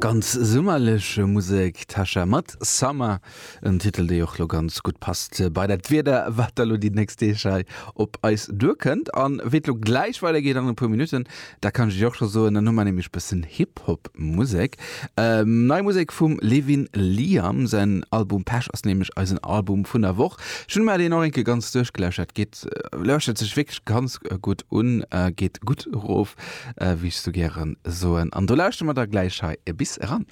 Ganz summerlech Musek, Tasha mat Summer, en Titel dee och lo ganz gutt passt bei dat Wieder wat da lo déi nächst Deeg hei op eis duerkënnt. An wéi et lo gläich weidergeet an e puer Minutten, dat kann ech iech och scho soen, dann hu mer nämlech bëssen Hip-Hop Musek. Nei Musek vum Levin Liam, säin Album Pech ass nämlech eisen Album vun der Woch. Ech hunn mer deen och eng Kéier ganz duerchgelauschtert, geet, lauschtert sech wierklech ganz gutt un, geet gutt erof. Wéi ech sou gären soen. An do lauschtere mer da gläich hei e bis eran.